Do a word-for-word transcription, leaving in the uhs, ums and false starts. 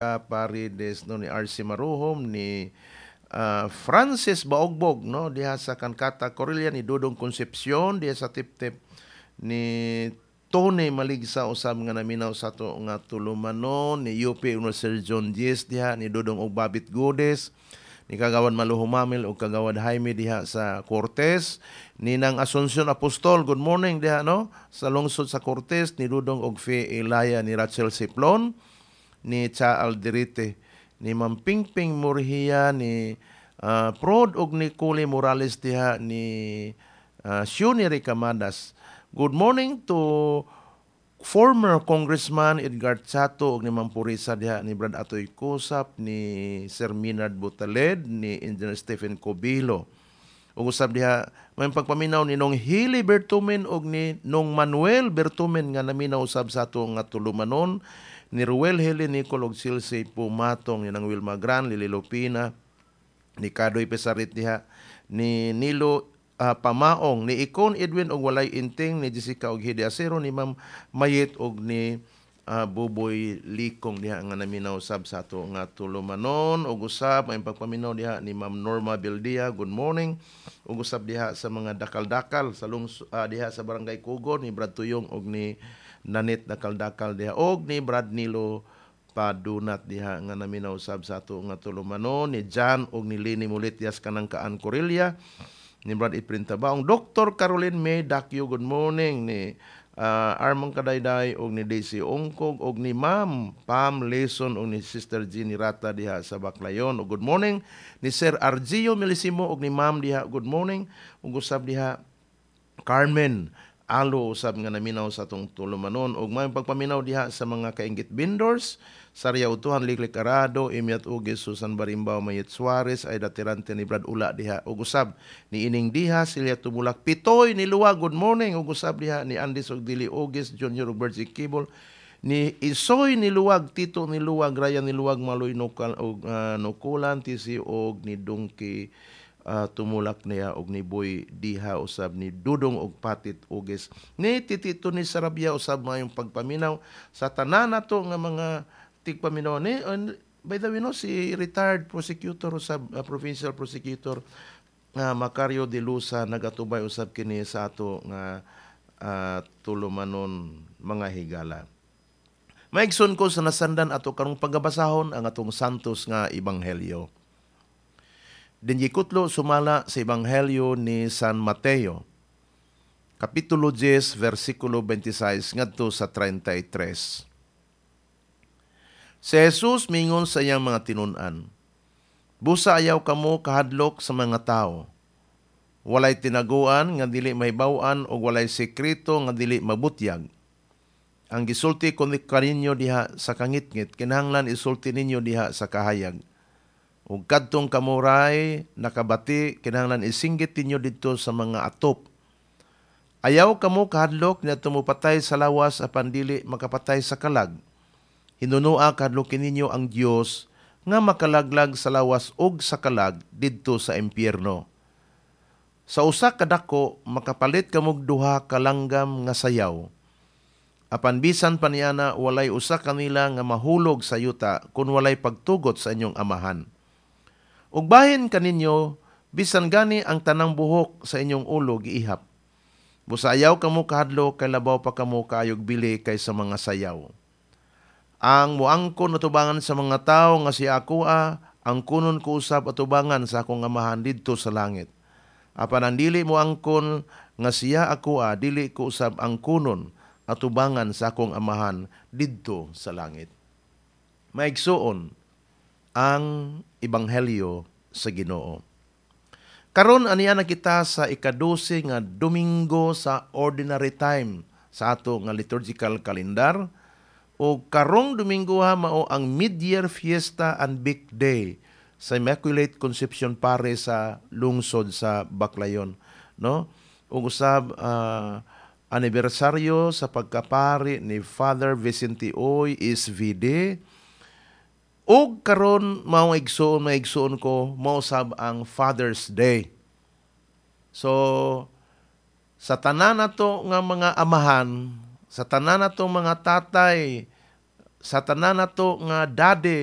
Paredes, no, ni R C Maruhom, ni uh, Francis Baogbog, no, diha sa Kankata Corelia, ni Dudong Concepcion diha sa Tiptip, ni Tony Maligsa usab nga naminaw sa ato nga tulumanon, ni U P Sir John Diez diha, ni Dudong og Babit Godes, ni Kagawad Maluhumamil ug Kagawad Jaime diha sa Cortes, ni Nang Asuncion Apostol, good morning diha, no, sa lungsod sa Cortes, ni Dudong og Fe Elaya, ni Rachel Siplon, ni Cha Alderete, ni Ma'am Pingping Murhia, ni uh, Prod og ni Culi Morales diha, ni uh, Shuni Ricamadas. Good morning to former Congressman Edgar Chato ug ni Ma'am Purisa diha, ni Brad Atoy Kusap, ni Sir Minard Butaled, ni Engineer Stephen Cobilo. Ug usab diha may pagpaminaw ni Nong Hili Bertumen ug ni Nong Manuel Bertumen nga naminaw usab sa ato nga tulumanon, ni Ruel Heli Nicol ug Silsi Pumatong, ni Nang Wilma Gran, Lili Lupina, ni Kadoy Pesarit diha, ni Nilo uh, Pamaong, ni Ikon Edwin og Walay Inting, ni Jessica og Hidi Acero, ni Ma'am Mayet og ni uh, Buboy Likong diha nga naminaw sab sa ato nga tulumanon. Ug usab may pagpaminaw diha ni Ma'am Norma Bildia, good morning. Ug usab diha sa mga dakal-dakal sa lungs, uh, diha sa Barangay Kugon, ni Brad Tuyong og ni Nanit Dakal-dakal diha og ni Brad Nilo Padunat diha nga naminaw sab sa ato nga tulumanon, ni John og ni Lini Mulitias kanang kaan Corelia, ni Brad Iprin Tabaong, Doctor Caroline May Dakyo, good morning, ni uh, Armand Kadayday og ni Daisy Ongkog og ni Ma'am Pam Leson og ni Sister Jeannie Rata diha sa Baclayon. Og good morning ni Sir Argio Melisimo og ni Ma'am diha, good morning. Ug usab diha Carmen Alo usab nga naminaw sa atong tulumanon. Ug may pagpaminaw diha sa mga kaingit vendors Sarya Utuhan, Liklik Arado, Imiat Ugis, Susan Barimbaw, Mayet Suarez, Aida Tirante, ni Brad Ula diha ug usab ni Ining Diha, Silya Tumulak, Pitoy ni Luwa, good morning. Ug usab diha ni Andis og Dili Ugis Junior ug Bertie Kibol, ni Isoy ni Luwag, Tito ni Luwag, Ryan ni Luwag, Maloy Nukal og uh, Nukulan T C og ni Dungki uh, tumulak niya og ni Boy Diha usab ni Dudong og Patit Ugis, ni Titito ni Sarabia usab. Mayong pagpaminaw sa tanan nato nga mga tigpaminaw ni, and by the way, no, si retired prosecutor usab, uh, provincial prosecutor uh, Macario de Lusa, nagatubay usab kini sa ato nga uh, tulumanon, mga higala. Maigsoon ko, sa nasandan, ato karong pagabasahon ang atong santos nga ebanghelyo. Dinhi kutlo sumala sa Ebanghelyo ni San Mateo. Kapitulo ten versikulo twenty-six ngadto sa thirty-three. Si Jesus mingon sa iyang mga tinun-an, "Busa ayaw kamo kahadlok sa mga tao. Walay tinaguan nga dili mahibaw-an o walay sekreto nga dili mabutyag. Ang gisulti ko kaninyo diha sa kangitngit, kinahanglan isulti ninyo diha sa kahayag. Ug kadtong kamuray nakabati, kinahanglan isinggit ninyo didto sa mga atop. Ayaw kamo kahadlok niadto mopatay sa lawas apan dili makapatay sa kalag. Hinunua kahadlokin ninyo ang Dios nga makalaglag sa lawas ug sa kalag didto sa impyerno. Sa usa ka dako makapalit kamog duha ka langgam nga sayaw. Apan bisan pa niana, walay usa kanila nga mahulog sa yuta kung walay pagtugot sa inyong amahan. Ug bahin kaninyo, bisan gani ang tanang buhok sa inyong ulo giihap. Busa ayaw kamo kahadlok kay labaw pa kamo kaayog bili kaysa mga sayaw. Ang muangkon atubangan sa mga tawo nga siya akoa, angkonon ko usab atubangan sa akong Amahan didto sa langit. Apan ang dili moangkon nga siya akoa, dili ko usab angkonon atubangan sa akong Amahan didto sa langit." Maigsuon, ang ebanghelyo sa Ginoo. Karon aniya na kita sa ikadose nga Domingo sa Ordinary Time sa ato nga liturgical calendar, o karong Domingo ha mao ang mid-year fiesta and big day sa Immaculate Conception Parish sa lungsod sa Baclayon, no? Ug usab uh, anibersaryo sa pagkapari ni Father Vicente Oy S V D. Ug karon mao, igsuon, maigsuon ko, mao sab ang Father's Day. So sa tanan nato nga mga amahan, sa tanan nato mga tatay, sa tanan nato nga daddy,